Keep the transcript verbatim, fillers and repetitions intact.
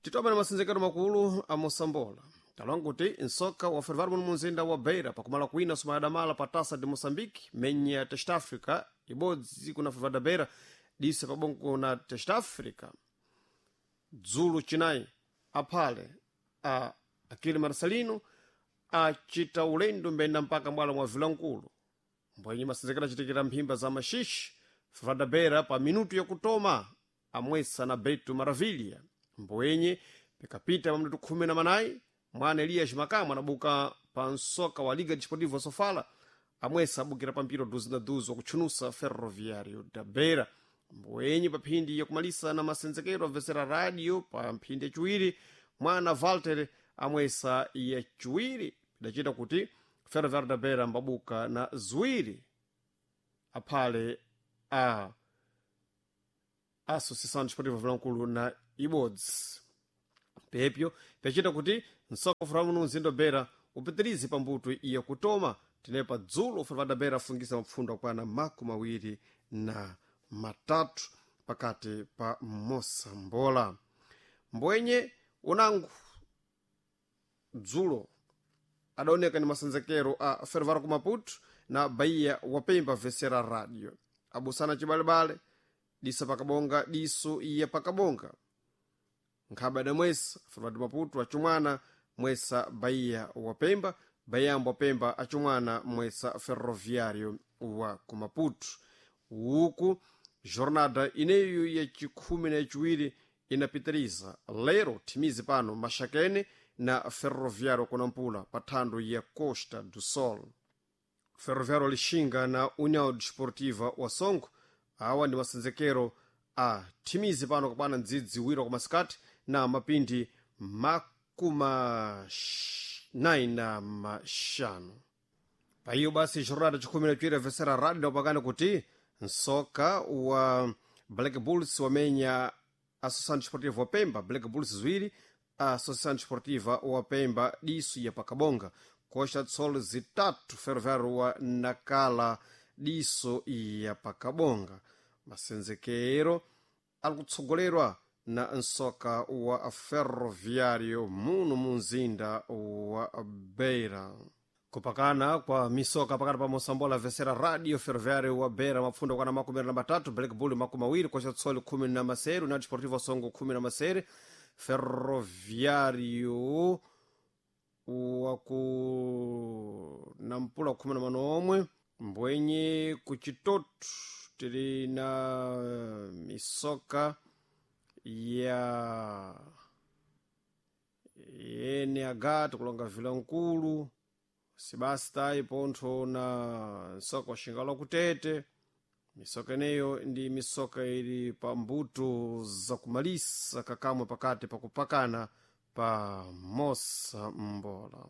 Titoma na masenzekero makulu a Mosambola. Talonga kuti nsoka wa fervaro muno munzinda wa Beira pakumala kwina sumayadamala pa Taça de Moçambique menya Test Africa ibodzi kuna fervaro da Beira dise pabongo na Test Africa dzulu chinayi aphale a Akili Marcelino acita ulendo mbenda mpaka mwala mwa Vilankulu mbwenye masenzekero achitikira mphimba za maxixe fervaro da Beira pa minuto yakutoma amwesa na Beto Maravilha mbwenye pikapita pa minuto khumi na manayi mwana Elias Makamu anabuka pa nsoka wa Liga Desportiva Sofala amwesa abukira pa mpira duzi na duzi wakutchunusa Ferroviário da Beira mbwenye pa phindi yakumalisa na masenzekero amvesera radio pa mphindi yaciwiri mwana Walter amwesa yaciwiri pidacita kuti Ferroviário da Beira mbabuka na ziwiri aphale a Associação Desportiva Vilankulu na ibodzi pepyo pyacita kuti nsoka ufuramu nu mzinda wa Beira upitirize pambuto iya kutoma tinepa dzulo ufura da Beira afungisa mapfundo akwana makumi awiri na matatu pakati pa Mosambola mbwenye unangu dzulo adaoneka ni masenzekero a Ferroviário ku Maputo na Bahia wapemba vesera radio abusana cibalebale disa pakabonga diso iya pakabonga nkhaba adamwesa Ferroviário de Maputo acumwana mwesa Bahia wapemba Bahia wapemba acumwana mwesa Ferroviário wa ku Maputo uku jornada ineyo yacikhumi na yaciwiri inapitiriza lero thimizi pano maxakene na Ferroviário kunampula pa thando ya Costa do Sol Ferroviário lixinga na União Desportiva wa Songo awa ndi masenzekero a thimizi pano kapana ndzidzi wiro kwa masikati na mapindi makuma nayi na maxanu paiyo basi jornada chikhumi na chiwiri avesera radio napakana kuti nsoka wa Black Bulls wamenya Associação Desportiva wa Pemba Black Bulls ziwiri Associação Desportiva wa Pemba diso ya pakabonga Costa do Sol zitatu Ferroviário wa Nakala diso ya pakabonga masenzekero ali kutsogolerwa na nsoka wa Ferroviário muno mu mzinda wa Beira kupakana kwa misoka pakati pa Mosambola vesera radio Ferroviário wa Beira mapfundo kwana makumi na matatu Black Bull makumi awiri Costa do Sol khumi na masere União Desportiva Songo khumi na masere Ferroviário waku nampula khumi na manomwe mbwenye kuchitoto tili na misoka ya N H tikulonga Vilankulu sibasta ipontho na nsoka waxingala kutete misoka ineyo ndi misoka ili pa mbuto zakumalisa kakamwe pakati pakupakana pa Mosambola.